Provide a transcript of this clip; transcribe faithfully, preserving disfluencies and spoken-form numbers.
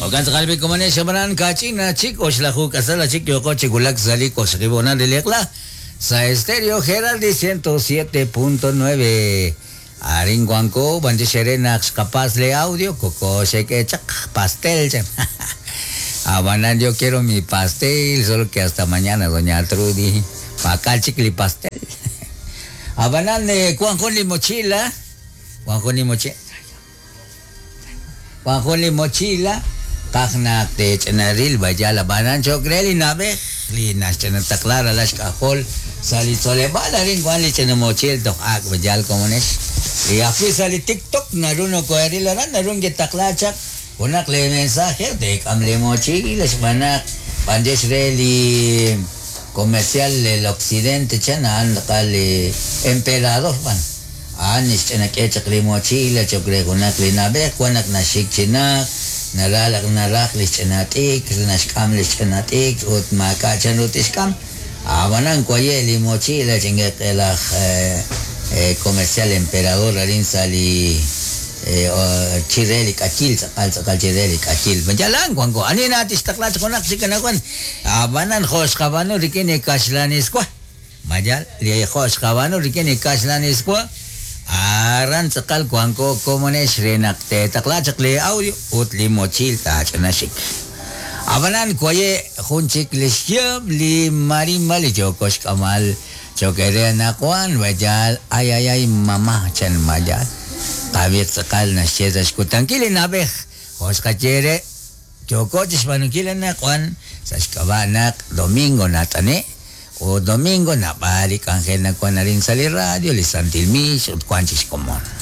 Okan tz'aqal bi komonex abanan kach'ina chik oxlaju k'asal chik yoko chikulak sali koxribona liliqla sa Estéreo Geraldi ciento siete punto nueve. Arin wanko bandixere naq xqapas le audio koko xek'echaq pastel chan. Abanan yo quiero mi pastel, solo que hasta mañana, doña Trudy. Pakal chikli pastel. Abanan eh, li mochila, Juanjo li mochila. Juanjo li mochila, kajnak te chenaril bayala banan chokreli nabej li naxchanataklara lax kajol sali tzolebal arin Juan li chenamochil toq ak bayal komonex. Y afi sali TikTok naruno koeril aran narun getaklachak unak le mensaje de kamle mochila xbanak bandesh re li comercial del occidente chan li emperador ban an ixch'anak'echaq li mochila chokre junak li nab'ej wanak naxik chinak naralaq naraj li xch'anat'ik naxk'am li xch'anat'ik ut maaka' chan rut ixk'am abanan kwaye li mochila chingeq'elaj eh, comercial emperador arin sali chireli k'akil tz'aqal tz'aqal chireli k'akil mayalan wanko ani natixtaqlach junak xikanawan abanan joxqabanu rik'in kaxlaniswa mayal li joxqabanu rik'in kaxlaniswa aran tz'aqal wanko komonex renaq tetaqlachaq li audio ut li mochil tach'anaxik abanan kwaye jun chik lixyab li marimba li yokox k'amal chokere naqwan bayal ay ay ay mama chan mayal Javier tz'aqal naxye sa' xkutankil li nab'ej joxqachere yoko chixb'anunkil naqwan sa' xk'ab'a' naq domingo nat'ane o domingo nab'al li k'anjel nakwan arin sa' li radio li Santil Mix ut wan chixkomon.